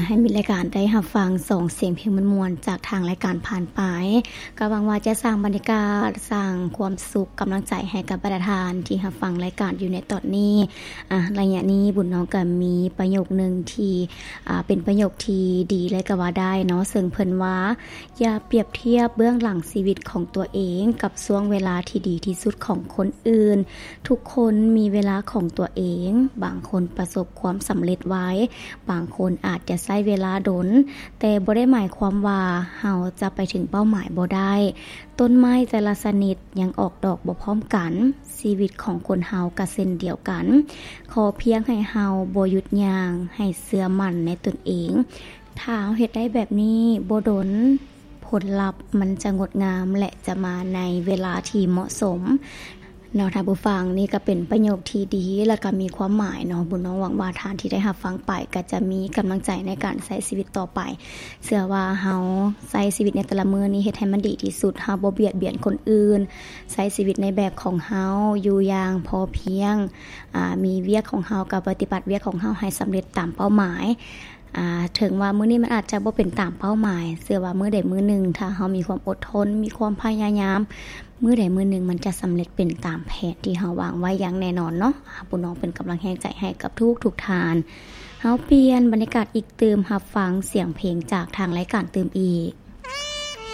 ໃຫ້ມິດລາຍການໄດ້ຮັບຟັງສອງສຽງເພງມ່ວນໆ ຈາກທາງລາຍການຜ່ານໄປ. ກໍຫວັງວ່າຈະສ້າງບັນຍາກາດ, ສ້າງຄວາມສຸກ, ກຳລັງໃຈໃຫ້ກັບບັນດາທ່ານທີ່ຮັບຟັງລາຍການຢູ່ໃນຕອນນີ້. ອາ ໄລຍະນີ້ບຸນນ້ອງກໍມີປະໂຫຍກໜຶ່ງທີ່ ອາ ເປັນປະໂຫຍກທີ່ດີເລີຍກໍວ່າໄດ້ເນາະ, ເຊິ່ງເພິ່ນວ່າ ຢ່າປຽບທຽບເບື້ອງຫຼັງຊີວິດຂອງຕົວເອງກັບຊ່ວງເວລາທີ່ດີທີ່ສຸດຂອງຄົນອື່ນ. ທຸກຄົນມີເວລາຂອງຕົວເອງ, ບາງຄົນປະສົບຄວາມສຳເລັດໄວ, ບາງຄົນອາດຈະໃຊ້ເວລາດົນ, ແຕ່ບໍ່ໄດ້ໝາຍຄວາມວ່າເຮົາຈະໄປເຖິງເປົ້າໝາຍບໍ່ໄດ້. ຕົ້ນໄມ້ແຕ່ລະຊະນິດຍັງອອກດອກບໍ່ພ້ອມກັນ, ຊີວິດຂອງຄົນເຮົາກໍເຊັ່ນດຽວກັນ. ຂໍພຽງໃຫ້ເຮົາບໍ່ຢຸດຍ່າງ, ໃຫ້ເຊື່ອໝັ້ນໃນຕົນເອງ. ຖ້າເຮົາເຮັດໄດ້ແບບນີ້, ບໍ່ດົນ ຜົນລັບມັນຈະງົດງາມ ແລະ ຈະມາໃນເວລາທີ່ເໝາະສົມເນາະທ່ານຜູ້ຟັງ. ນີ້ກໍເປັນປະໂຫຍກທີ່ດີ ແລະ ກໍມີຄວາມໝາຍເນາະ. ບຸນນ້ອງຫວັງວ່າທ່ານທີ່ໄດ້ຮັບຟັງໄປ ກໍຈະມີກຳລັງໃຈໃນການໃຊ້ຊີວິດຕໍ່ໄປ. ເຊື່ອວ່າເຮົາໃຊ້ຊີວິດໃນແຕ່ລະມື້ນີ້ເຮັດໃຫ້ມັນດີທີ່ສຸດ, ເຮົາບໍ່ບຽດບຽນຄົນອື່ນ, ໃຊ້ຊີວິດໃນແບບຂອງເຮົາ, ຢູ່ຢ່າງພໍພຽງ, ອາ, ມີວຽກຂອງເຮົາກໍປະຕິບັດວຽກຂອງເຮົາໃຫ້ສຳເລັດຕາມເປົ້າໝາຍ. ອາ ເຖິງວ່າມື້ນີ້ມັນອາດຈະບໍ່ເປັນຕາມເປົ້າໝາຍ, ເຊື່ອວ່າມື້ໃດມື້ໜຶ່ງ ຖ້າເຮົາມີຄວາມອົດທົນ, ມີຄວາມພະຍາຍາມ, ມື້ໃດມື້ໜຶ່ງມັນຈະສຳເລັດເປັນຕາມແຜນທີ່ເຮົາວາງໄວ້ຢ່າງແນ່ນອນເນາະ. ອາ ບຸນນ້ອງເປັນກຳລັງແຮງໃຈໃຫ້ກັບທຸກໆທ່ານ. ເຮົາປ່ຽນບັນຍາກາດອີກຕື່ມ, ຮັບຟັງສຽງເພງຈາກທາງລາຍການຕື່ມອີກ.